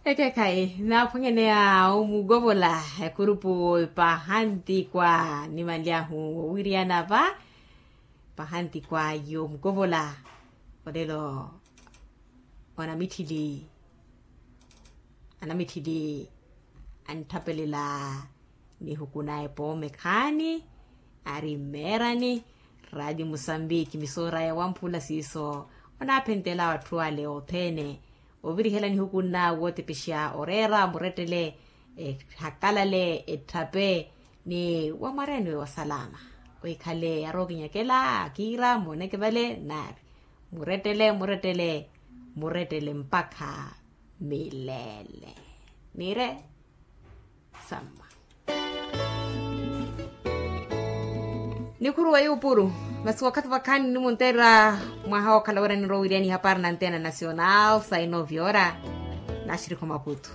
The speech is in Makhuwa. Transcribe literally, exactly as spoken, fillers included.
Ekeekhayi naaphwanyaneya omukovola, ekurupu pahantikwa nimanly'ahu wowiriyana va, pahantikwa yomukovola. Olelo, onamitthili, anamitthili, antthapelela nihuku na epoome khaani, ari mmeerani. Raati musambiki misoora ya wamphula siiso, onaaphentel'awe atthu ale othene, ovirihela nihuku nna wootepexa oreera murettele, ehakalale etthape, ni wamwareni we wa salama, wikhale arookinyakela akiira mooneke vale, nari murettele murettele, murettele mpakha milele. Niire samma. Nikhuruwa yuupuru, masi wakhathi vakhaani nimunteerera mwaha wookhala wira ninrowa wiriani ihapari na antena nacional sainoviora, naxirikho maputu.